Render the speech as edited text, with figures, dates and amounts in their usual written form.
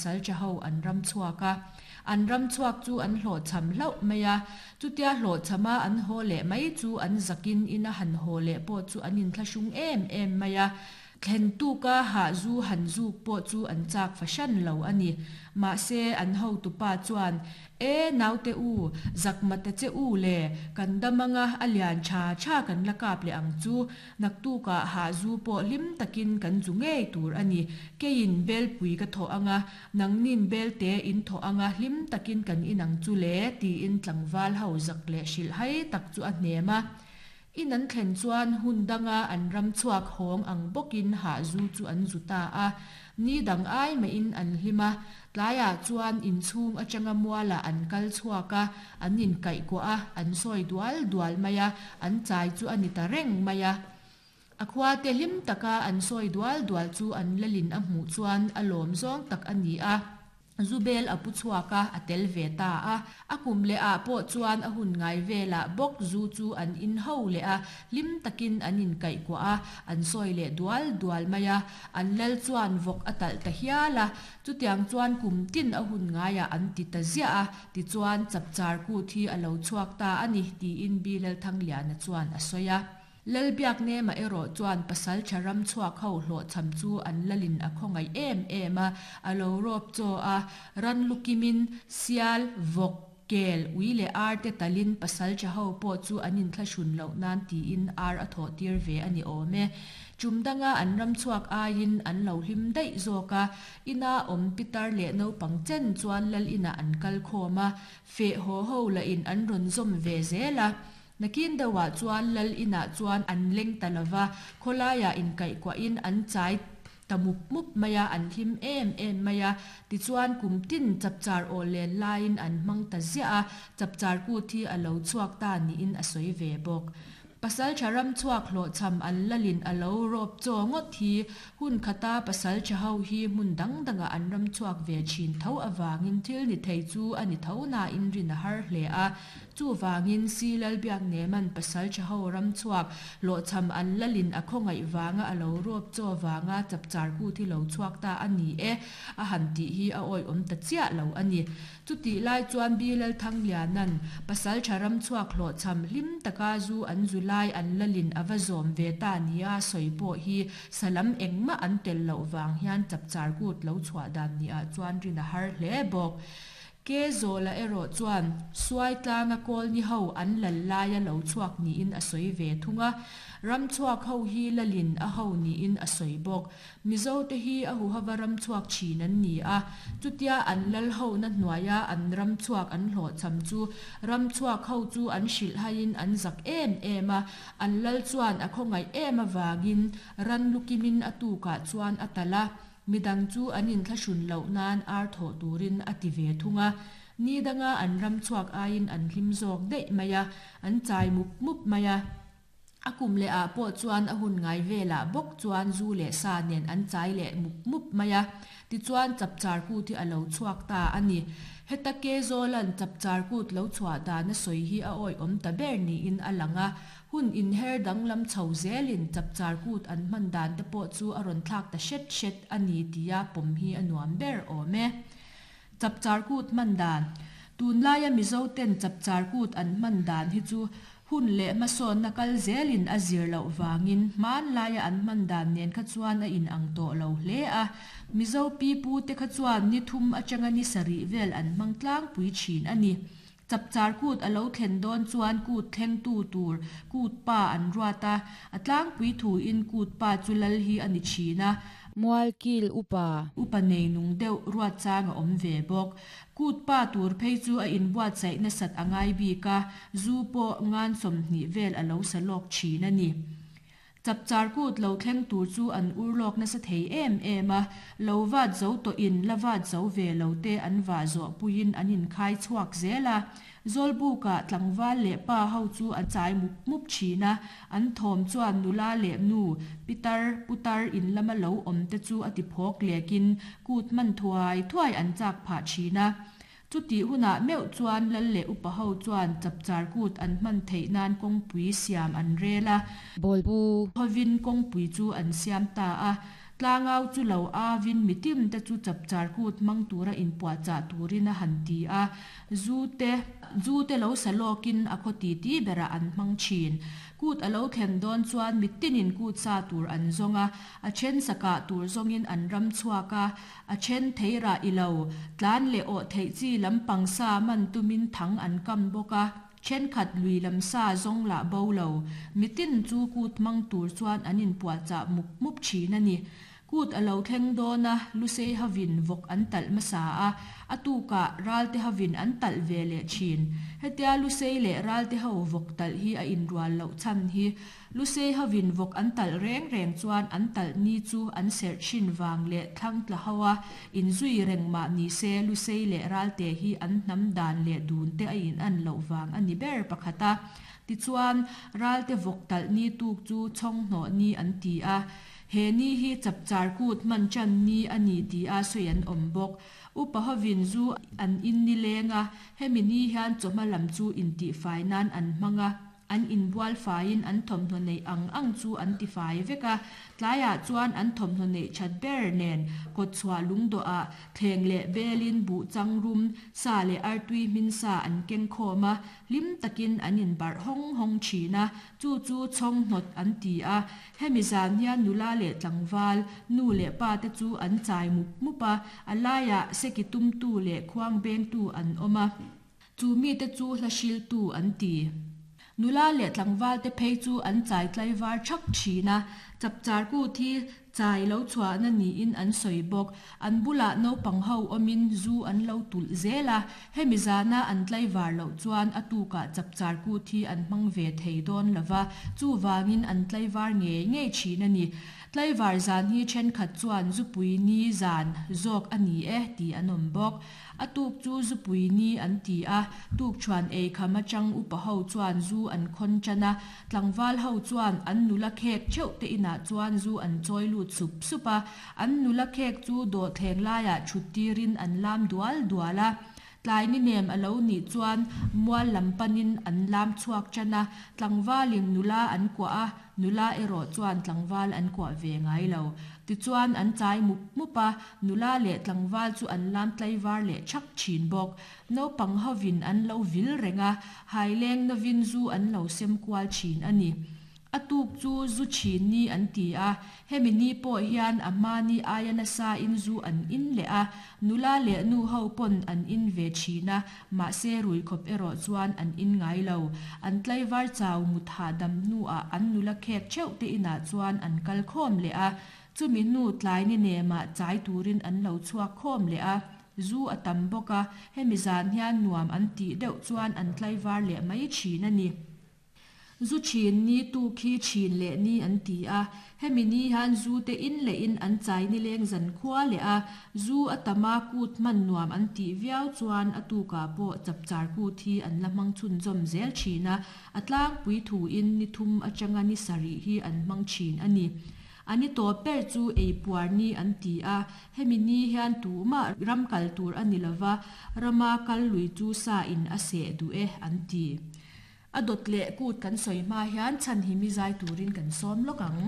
pasalṭha ho an ram chhuak a. An ram chhuak chu an hlawhchham hlauh mai a. Chutia hlawhchhama an haw leh mai chu an zakin ina han haw leh pawh chu an inthlahrung em em mai a. Thlen tuka hah zu han zuk pawh chu an chak fahran lo a ni. Mahse, an hotupa chuan, E, naute u, zak mata che u le, kan dam anga a lian tha tha kan la kap leh ang chu. Naktukah hah zu pawh hlim takin kan zu ngei tur a ni. Keiin belpui ka thawh anga, nangnin belte in thawh anga hlim takin kan inang chu le, tiin tlangval ho zak leh hrilhhai tak chu a hnem a. In an thlen chuan hun danga an ram chhuak hawng ang bawkin hah zu chu an zu ta a. Ni dang ai mahin an hlim a, tlaiah chuan inchhung atanga mualah an kal chhuak a, an inkaihkuah a, an sawi dual dual mai a, an chai chu a ni ta reng mai a. A khuate hlim taka an sawi dual dual chu an lalin a hmuh chuan a lawm zawng tak a ni a. Zubel a pu chhuak a, a tel ve ta a. A kum leh ah pawh chuan a hun ngai velah bawk zu chu an in ho leh a, hlim takin an inkaihkuah a, an sawi leh dual dual mai a. An lal chuan vawk a talh ta hial a, chutiang chuan kum tin a hun ngaiah an ti ta ziah a, tichuan chapchar kut hi a lo chhuak ta a ni, tiin Bilalthangliana chuan a sawi a. Lalbiaknema erawh chuan pasalṭha ram chhuak ho hlawhchham chu an lalin a khawngaih em em a, a lo rawp chaw a, ran lu kimin sial, vawk, kel, ui leh ar te talin pasalṭha ho pawh chu an inthlahrun loh nan tiin ar a thawh tir ve a ni awm e. Ṭum danga an ram chhuak aiin an lo hlim daih zawk a, ina awm pitar leh naupang chen chuan lal inah an kal khawm a, feh haw ho lahin an rawn zawm ve zel a. Nakin deuhah chuan lal inah chuan an leng ta lo va, khawlaiah inkaihkuahin an chai ta mup mup mai a, an hlim em em mai a. Tichuan kum tin chapchar aw len laiin an hmang ta ziah a, chapchar kut hi a lo chhuak ta niin a sawi ve bawk. Pasaltha ram chhuak hlawhchham an lalin a lo rawp chaw ngawt hi hun khata pasaltha ho hi hmun dang dangah an ram chhuak ve thin tho avangin thil ni thei chu a ni tho nain rin a har hle a. Chuvangin Si Lalbiaknema'n pasal tha ho ram chhuak hlawhchham an lalin a khawngaih vanga a lo rawp chaw vanga chapchar kut hi lo chhuak ta a ni e a han tih hi a awihawm ta chiah lo a ni. Chutih lai chuan Bi Lalthangliana'n pasal tha ram chhuak hlawhchham hlim taka zu an zu lai an lalin a va zawm ve ta nia sawi pawh hi salam engmah an tel loh vang hian chapchar kut lo chhuah dan niah chuan rin a har hle bawk. Ke Zawla erawh chuan Suai tlanga Kawlni ho an lal laia lo chhuak niin a sawi ve thung a, ram chhuak ho hi lalin a ho niin a sawi bawk. Mizote hi a huhava ram chhuak thin an ni a, chutia an lal hona hnuaia an ram chhuak an hlawhchham chu ram chhuak ho chu an hrilhhaiin an zak em em a, an lal chuan a khawngaih em avangin ran lukimin a tukah chuan a talh a. Midang chu an inthlahrun loh nan ar thawh turin a ti ve thung a, ni danga an ram chhuak aiin an hlim zawk daih mai a, an chai mup mup mai a. A kum leh ah pawh chuan a hun ngai velah bawk chuan zu leh sa nen an chai leh mup mup mai a, tichuan chapchar kut hi a lo chhuak ta a ni. Heta Kezawla'n chapchar kut lo chhuah dan a sawi hi a awihawm ta ber niin a lang a, Hun inher danglam chho zelin chapchar kut an hman dan te pawh chu a rawn thlak ta hret hret a ni tia pawm hi a nuam ber awm e. Chapchar kut hman dan, Tunlaia Mizo ten chapchar kut an hman dan hi chu hun leh hmasawnna kal zelin a zir loh vangin hmanlaia an hman dan nen kha chuan a inang tawh lo hle a. Mizo pipu te kha chuan ni thum atanga ni sarih vel an hmang tlangpui thin a ni. Chapchar kut a lo thlen dawn chuan kut thlengtu tur kut pa an ruat a, a tlangpui thuin kut pa chu lal hi a ni thin a. Mualkil upa. Upa nei nung deuh ruat chang a awm ve bawk. Kut pa tur phei chu a inbuatsaih nasat a ngai bik a, zu pawh ngan 20 vel a lo sa lawk thin a ni. Chapchar kut lo thleng tur chu an ur lawk nasa thei em em a, lo vat zo tawhin la vat zo ve lo te an vah zawh puiin an inkhai chhuak zel a. Zawlbukah tlangval leh pa ho chu a chai mup mup thin a, an thawm chuan nula leh nu, pitar, putar in lama lo awm te chu a ti phawk lekin kut hman thuai thuai an chak phah thin a. Chutih hunah meuh chuan lal leh upa ho chuan chapchar kut an hman theih nan kawngpui siam an rel a. Bawlbu. Hovin kawngpui chu an siam ta a. Tlangau chu lo avin mitin te chu chapchar kut hmang tura inpuahchah turin a han ti a. Zu te zu te lo sa lawkin a khaw titi berah an hmang thin. Kut a lo thlen dawn chuan mitinin kut sa tur an zawng a, a then sa kah tur zawngin an ram chhuak a, a then theirah i lo tlan leh awh theih chi lampang sa man tumin thang an kam bawk a. Thenkhat lui lam sa zawng lah bo lo, mitin chu kut hmang tur chuan an inpuahchah mup mup thin a ni. Kut a lo thleng dawn a, Lusei hovin vawk an talh hmasa a, a tukah Ralte hovin an talh ve leh thin. Hetia Lusei leh Ralte ho vawk talh hi a inrual loh chhan hi Lusei hovin vawk an talh reng reng chuan an talh ni chu an serh thin vang leh thlang tla ho a inzui reng mah ni se Lusei leh Ralte hi an hnam dan leh dun te a in an loh vang a ni ber pakhat a. Tichuan, Ralte vawk talh ni tuk chu chhawnghnawh ni an ti a. He ni hi chapchar kut hman tan ni a ni ti a sawi an awm bawk. Upa hovin zu an in nileng a, hemi ni hian chawhma lam chu intihfai nan an hmang a. An inbual faiin an thawmhnaw neih ang ang chu an tifai vek a, tlaiah chuan an thawmhnaw neih that ber nen kawtchhuah lungdawhah thleng leh belin buh chang rum sa leh artui hmin sa an keng khawm a, hlim takin an inbarh hawng hawng thin a, chu chu chhawnghnawt an ti a. Hemi zan hian nula leh tlangval, nu leh pa te chu an chai mup mup a, a laiah seki tumtu leh khuang bengtu an awm a. Chu mite chu hla hriltu an ti. Nula leh tlangvalte phei chu an chai tlaivar thak thin a, chapchar kut hi chai lo chhuahna niin an sawi bawk. An bulah naupang ho awmin zu an lo tulh zel a, hemi zana an tlaivar loh chuan a tukah chapchar kut hi an hmang ve thei dawn lo va, chuvangin an tlaivar ngei ngei thin a ni. Tlaivar zan hi thenkhat chuan zupui ni zan zawk a ni e tih an awm bawk. A tuk chu zupui ni an ti a, tukṭhuan ei kham atang upa ho chuan zu an khawn ṭan a, tlangval ho chuan an nula khek theuh te inah chuan zu an chawi lut sup sup a, an nula khek chu dawhthleng laiah ṭhut tirin an lam dual dual a. Tlai ni nem a lo nih chuan mual lam panin an lam chhuak ṭan a, tlangvalin nula an kuah a, nula erawh chuan tlangval an kuah ve ngai lo. Tichuan an chai mup mup a, Nula leh tlangval chu an lam tlaivar leh thak thin bawk. Naupang hovin an lo vil reng a, haileng novin zu an lo sem kual thin a ni. A tuk chu zu thin ni an ti a, hemi ni pawh hian a hma ni aia nasain zu an in leh a, nula leh nu ho pawn an in ve thin a, mahse rui khawp erawh chuan an in ngai lo. An tlaivar chau mut hahdam hnuah an nula khek theuh te inah chuan an kal khawm leh a, Chumi hnu tlai ni nemah chai turin an lo chhuak khawm leh a, zu a tam bawk a, hemi zan hian nuam an tih deuh chuan an tlaivar leh mai thin a ni. Zu thin ni tu khi thin leh ni an ti a, hemi ni hian zu te in leh in an chai nileng zan khua leh a, zu a tam a kut hman nuam an tih viau chuan a tukah pawh chapchar kut hi an la hmang chhunzawm zel thin a, a tlangpui thuin ni thum atanga ni sarih hi an hmang thin a ni. A ni tawp ber chu ei puar ni an ti a, hemi ni hian tumah ram kal tur a ni lova, rama kal lui chu sa in a seh duh e an ti. A dawt leh kut kan sawi hma hian chhan hi mi zai turin kan sawm lawk ang.